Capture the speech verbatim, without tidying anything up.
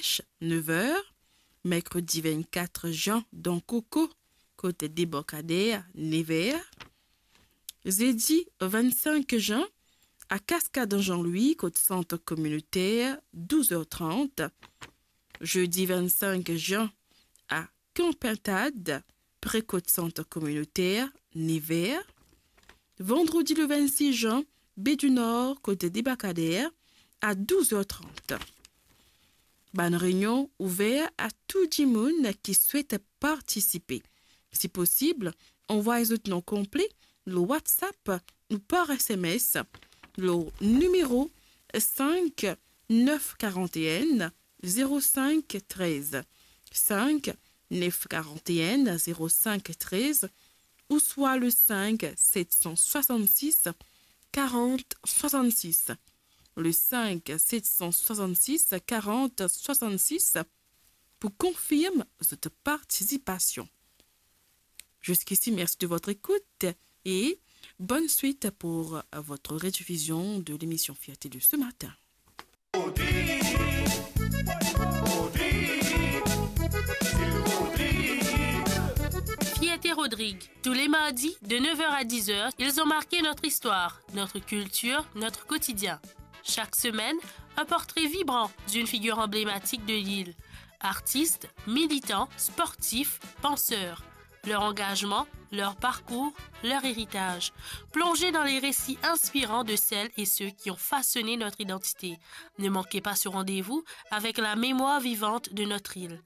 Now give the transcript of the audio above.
Laroche, nev er. Merkredi vennkat zan, dan Koko, kot Debarkader, nev er. Zedi vennsenk zan, a Cascade Jean-Louis, kot sant kominoter, douz er trant. Zedi vennsenk zan, a Kan Pintad, pre kot sant kominoter, nev er. Vandredi le vennsis zan, Baie du Nord, kot Debarkader, a douz er trant. Bann reynion ouver a tou dimoun ki swet partisipe. Si posib, anvway zot nom konple lor WhatsApp ou par S M S lor nimero sink nef karant-enn zerosenk trez, sink nef karant-enn zerosenk trez, ouswa le sink set san swasann-sis karant swasann-sis, le sink set san swasann-sis karant swasann-sis, pou konfirm zot partisipasion. Jusqu'ici, merci de votre écoute et bonne suite pour votre rediffusion de l'émission Fierté de ce matin. Fierté Rodrigue. Tous les mardis, de neuf heures à dix heures, ils ont marqué notre histoire, notre culture, notre quotidien. Chaque semaine, un portrait vibrant d'une figure emblématique de l'île. Artistes, militants, sportifs, penseurs. Leur engagement, leur parcours, leur héritage. Plongez dans les récits inspirants de celles et ceux qui ont façonné notre identité. Ne manquez pas ce rendez-vous avec la mémoire vivante de notre île.